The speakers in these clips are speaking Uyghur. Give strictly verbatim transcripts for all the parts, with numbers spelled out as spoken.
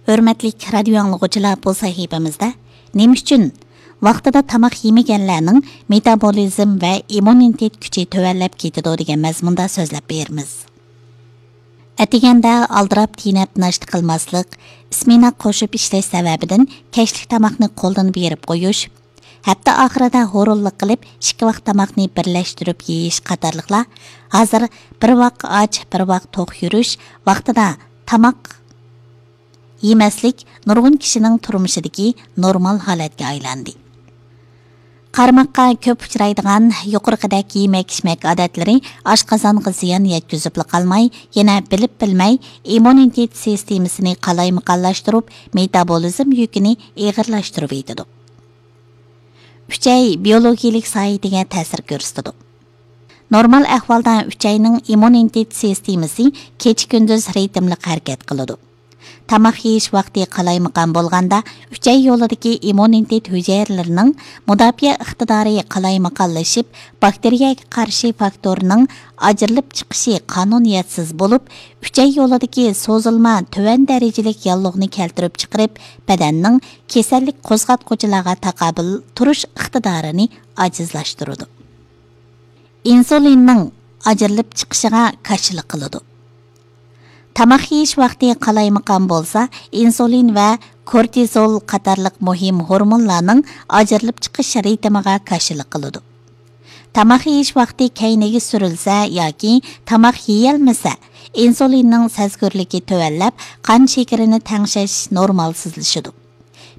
ھۆرمەتلىك رادىيو ئاڭلىغۇچىلار، بۇ سەھىپىمىزدە نېمە ئۈچۈن ۋاقتىدا تاماق يېمىگەنلەرنىڭ مېتابولىزم ۋە ئىممۇنىتېت كۈچى تۆۋەنلەپ كېتىدۇ دېگەن مەزمۇندا سۆزلەپ بېرىمىز. ئەتىگەندە ئالدىراپ تېنەپ ناشتا قىلماسلىق، ئىسمېنا قوشۇپ ئىشلەش سەۋەبىدىن كەچلىك تاماقنى قولدىن بېرىپ قويۇش، ھەپتە ئاخىرىدا ھۇرۇنلۇق قىلىپ ئىككى ۋاق تاماقنى بىرلەشتۈرۈپ يېيىش قاتارلىقلار ھازىر بىر ۋاق ئاچ، بىر ۋاق توق يۈرۈش، ۋاقتىدا تاماق يېمەسلىك نۇرغۇن كىشىنىڭ تۇرمۇشىدىكى نورمال ھالەتكە ئايلاندى. قارىماققا كۆپ ئۇچرايدىغان يۇقىرىقىدەك يېمەك-ئىچمەك ئادەتلىرى ئاشقازانغا زىيان يەتكۈزۈپلا قالماي، يەنە بىلىپ بىلمەي ئىممۇنىتېت سىستېمىسىنى قالايمىقانلاشتۇرۇپ، مېتابولىزم يۈكىنى ئېغىرلاشتۇرۇۋېتىدۇ. ئۈچەي بىيولوگىيىلىك ساھىتىگە تەسىر كۆرسىتىدۇ. نورمال ئەھۋالدا ئۈچەينىڭ ئىممۇنىتېت سىستېمىسى كېچە-كۈندۈز رىتىملىق ھەرىكەت قىلىدۇ. تاماق يېيىش ۋاقتى قالايمىقان بولغاندا، ئۈچەي يولىدىكى ئىممۇنىتېت ھۈجەيرىلىرىنىڭ مۇداپىئە ئىقتىدارى قالايمىقانلىشىپ، باكتېرىيەگە قارشى فاكتورنىڭ ئاجرىلىپ چىقىشى قانۇنىيەتسىز بولۇپ، ئۈچەي يولىدىكى سوزۇلما تۆۋەن دەرىجىلىك ياللۇغنى كەلتۈرۈپ چىقىرىپ، بەدەننىڭ كېسەللىك قوزغاتقۇچىلارغا تاقابىل تۇرۇش ئىقتىدارىنى ئاجىزلاشتۇرىدۇ. ئىنسۇلىننىڭ ئاجرىلىپ چىقىشىغا كاشىلا قىلىدۇ. تاماق يېيىش ۋاقتى قالايمىقان بولسا، ئىنسۇلىن ۋە كورتىزول قاتارلىق مۇھىم ھورمونلارنىڭ ئاجرىلىپ چىقىش رىتىمىغا كاشىلا قىلىدۇ. تاماق يېيىش ۋاقتى كەينىگە سۈرۈلسە ياكى تاماق يېيەلمىسە، ئىنسۇلىننىڭ سەزگۈرلۈكى تۆۋەنلەپ، قان شېكىرىنى تەڭشەش نورمالسىزلىشىدۇ.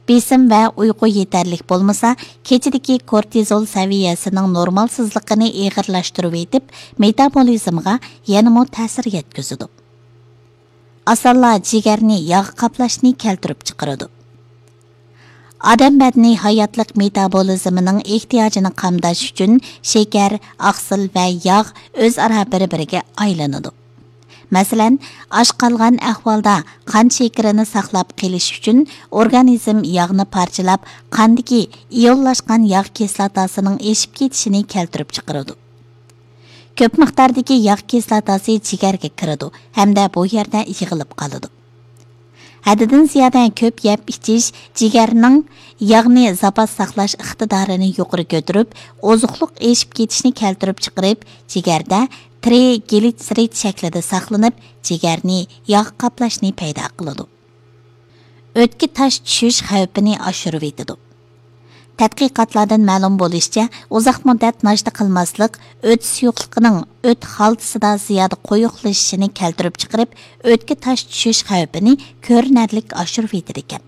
بېسىم ۋە ئۇيقۇ يېتەرلىك بولمىسا، كېچىدىكى كورتىزول سەۋىيەسىنىڭ نورمالسىزلىقىنى ئېغىرلاشتۇرۇۋېتىپ، مېتابولىزمغا يەنىمۇ تەسىر يەتكۈزىدۇ. ئاسانلا جىگەرنى ياغ قاپلاشنى كەلتۈرۈپ چىقىرىدۇ. ئادەم بەدىنى ھاياتلىق مېتابولىزمىنىڭ ئېھتىياجىنى قامداش ئۈچۈن شېكەر، ئاقسىل ۋە ياغ ئۆزئارا بىر-بىرىگە ئايلىنىدۇ. مەسىلەن، ئاچ قالغان ئەھۋالدا قان شېكىرىنى ساقلاپ قېلىش ئۈچۈن ئورگانىزم ياغنى پارچىلاپ، قاندىكى ئىيونلاشقان ياغ كىسلاتاسىنىڭ ئېشىپ كېتىشىنى كەلتۈرۈپ چىقىرىدۇ. كۆپ مىقداردىكى ياغ كىسلاتاسى جىگەرگە كىرىدۇ ھەمدە بۇ يەردە يىغىلىپ قالىدۇ. ھەددىدىن زىيادە كۆپ يەپ ئىچىش جىگەرنىڭ ياغنى زاپاس ساقلاش ئىقتىدارىنى يۇقىرى كۆتۈرۈپ، ئوزۇقلۇق ئېشىپ كېتىشنى كەلتۈرۈپ چىقىرىپ، جىگەردە ترىگلىتسېرىد شەكلىدە ساقلىنىپ، جىگەرنى ياغ قاپلاشنى پەيدا قىلىدۇ. ئۆتكە تاش چۈشۈش خەۋپىنى ئاشۇرۇۋېتىدۇ. تەتقىقاتلاردىن مەلۇم بولۇشىچە، ئۇزاق مۇددەت ناشتا قىلماسلىق ئۆت سۇيۇقلۇقىنىڭ ئۆت خالتىسىدا زىيادە قويۇقلىشىشىنى كەلتۈرۈپ چىقىرىپ، ئۆتكە تاش چۈشۈش خەۋپىنى كۆرۈنەرلىك ئاشۇرۇۋېتىدىكەن.